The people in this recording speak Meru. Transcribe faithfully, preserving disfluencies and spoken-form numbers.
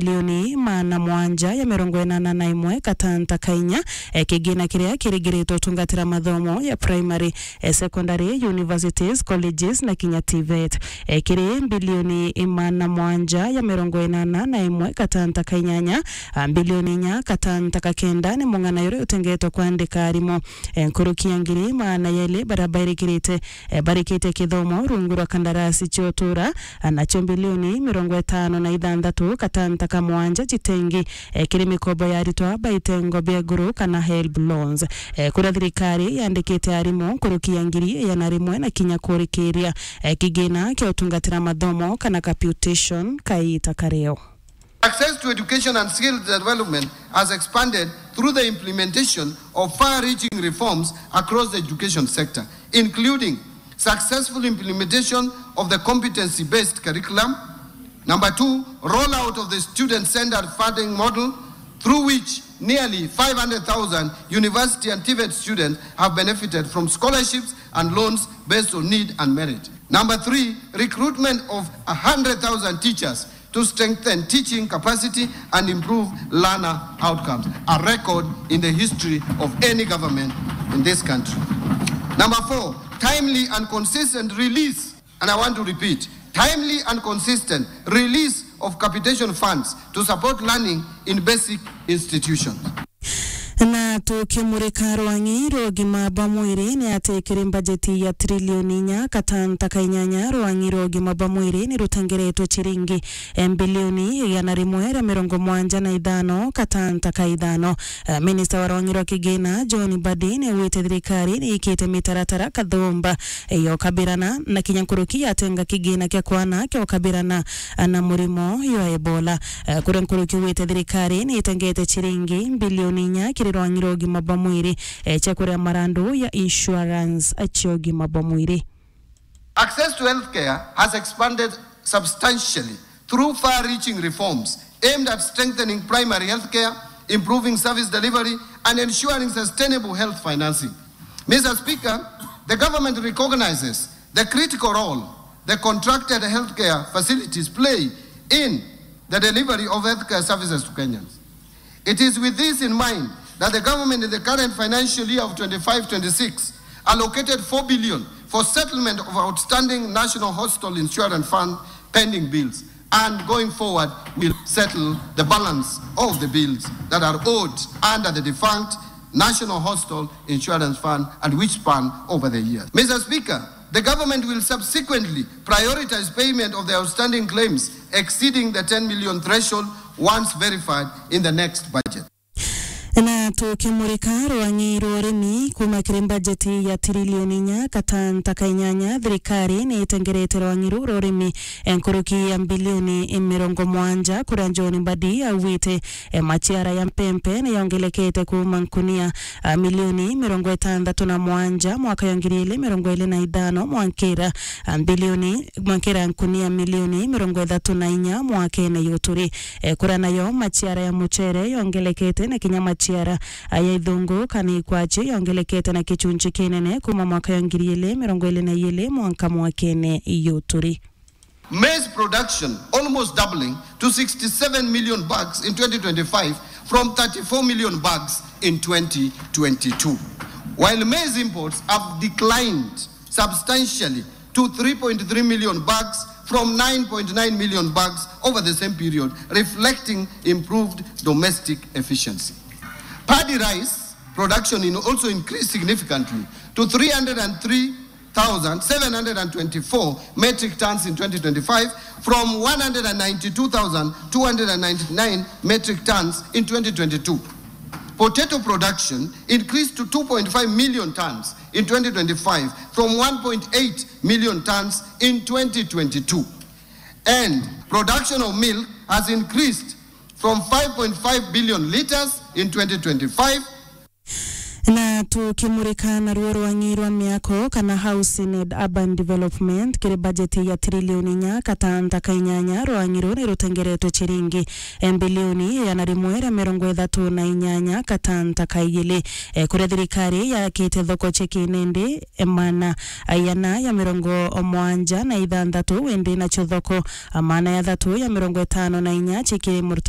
milioni maana mwanja ya mirongo inana na imwe gatanta ka inya, eh, kigina kiria kirigiritwe utungatira mathomo ya primary, eh, secondary, universities, colleges na kinya TVET. Eh, kiri bilioni maana mwanja ya mirongo inana na imwe gatanta ka inyanya, ah, bilioni inya gatanta ka kenda ni mung'ana uria utengetwe kwandika arimu. Eh, nkuruki ya ngiri maana yeli baria bairikirite, eh, barikitie kithomo rungu rwa kandarasi cia utura, ah, nacio bilioni mirongo itano na ithanthatu gatanta ka mwanja citengi, eh, kiri mikobo ya aritwa ba itengo bia iguru kana HELB loans. Eh, kuria thirikari yandikite arimu nkuruki ya ngiri igana rimwe na kinya kurikiria, eh, kigina kia utungatira mathomo kana capitation kaita kario. Access to education and skills development has expanded through the implementation of far-reaching reforms across the education sector, including successful implementation of the competency-based curriculum. Number two, rollout of the student-centered funding model, through which nearly five hundred thousand university and TVET students have benefited from scholarships and loans based on need and merit. Number three, recruitment of a hundred thousand teachers to strengthen teaching capacity and improve learner outcomes, a record in the history of any government in this country. Number four, timely and consistent release, and I want to repeat, timely and consistent release of capitation funds to support learning in basic institutions. Na tukimurika rwang'i rwa ugima bwa mwiri, ni ati kiri mbajeti ya trilioni inya katanta ka inyanya, rwang'i rwa ugima bwa mwiri ni rutengeretwe ciringi, eh, mbilioni igana rimwe ria mirongo mwanja na ithano katanta ka ithano. Eh, minista wa rwang'i rwa kigina John Mbadi ni augite thirikari ni ikite mitaratara kathumba, eh, ya ukabirana na kinya nkuruki yatenga kigina kia kwana kia ukabirana, eh, na murimo jwa Ebola. Eh, kuria nkuruki augite thirikari ni itengete ciringi mbilioni inya kiri rwang'i rwa ugima bwa mwiri, eh, cia kuria marandu ya insurance, eh, cia ugima bwa mwiri. Access to healthcare has expanded substantially through far-reaching reforms aimed at strengthening primary healthcare, improving service delivery, and ensuring sustainable health financing. Mister Speaker, the government recognizes the critical role the contracted healthcare facilities play in the delivery of healthcare services to Kenyans. It is with this in mind that the government in the current financial year of twenty-five twenty-six allocated four billion for settlement of outstanding National Hospital Insurance Fund pending bills, and going forward will settle the balance of the bills that are owed under the defunct National Hospital Insurance Fund and which span over the years. Mister Speaker, the government will subsequently prioritize payment of the outstanding claims exceeding the ten million threshold once verified in the next budget. Na tukimurika rwang'i rwa urimi, kuma kiri mbajeti ya tirilioni inya katanta ka inyanya, thirikari ni itengerete rwang'i ruu rwa urimi, eh, nkuruki ya mbilioni mirongo mwanja, kuria John Mbadi augite, eh, maciara ya mpempe ni yongelekete kuma nkunia, ah, milioni mirongo itantatu na mwanja mwaka ya ngiri ili mirongo ili na ithano mwankira, ah, mbilioni, mwankira nkunia milioni mirongo ithatu na inya mwakene juturi. Eh, kuria nayo maciara ya mucere yongelekete na kinya maciara, ah, ya ithungu kana ikwachi yongelekete na kichunchi kinene kuma mwaka ya ngiri ili mirongo ili na ili mwanka mwakene juturi. Maize production almost doubling to sixty-seven million bags in twenty twenty-five from thirty-four million bags in twenty twenty-two, while maize imports have declined substantially to three point three million bags from nine point nine million bags over the same period, reflecting improved domestic efficiency. Paddy rice production in also increased significantly to three hundred and three thousand seven hundred and twenty-four metric tons in twenty twenty-five from one hundred and ninety-two thousand two hundred and ninety-nine metric tons in twenty twenty-two. Potato production increased to two point five million tons in twenty twenty-five from one point eight million tons in twenty twenty-two. And production of milk has increased from five point five billion liters in twenty twenty-five. Na tukimurika naruo rwang'i rwa miako kana housing and urban development, kiri bajeti ya trilioni inya katanta ka inyanya, rwang'i ruu ni rutengeretwe ciringi bilioni igana rimwe ria mirongo ithatu na inyanya katanta ka igiri, e, kuria thirikari yakite thoko cia kinindi, e, maana igana ya mirongo mwanja na ithanthatu, indi nacio thoko, a, maana ya thatu ya mirongo itano na inya cikiri murta-,